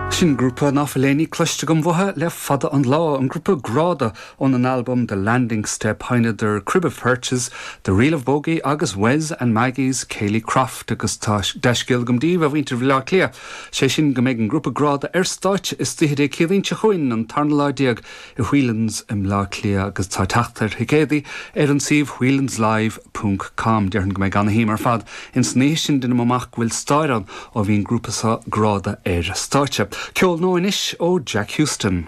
Sin grúpa ná fuil éinní cloiste agam uathu le fada an lá, an grúpa Gráda óna n-albam The Landing Step. Sheinneadar Crib of Perches, The Reel of Bogey agus Wes and Maggie's Ceilidh Croft agus tá dea-scéal agam daoibh, a mhuintir Bhaile Átha Cliath, sé sin go mbeidh an grúpa Gráda ar stáitse istoíche Dé Céadaoin seo chugainn, an tarna lá déag i Whelan's i mBleá Cliath agus tá teacht ar thicéadaí ar an suíomh whelanslive ponc com. Déarfainn go mbeidh ana-shuim ar fad ins an oíche sin, deinim amach go bhfuil stair ann ó bhí an grúpa seo Gráda ar stáitse. Ceol nua anois ó Jack Huston.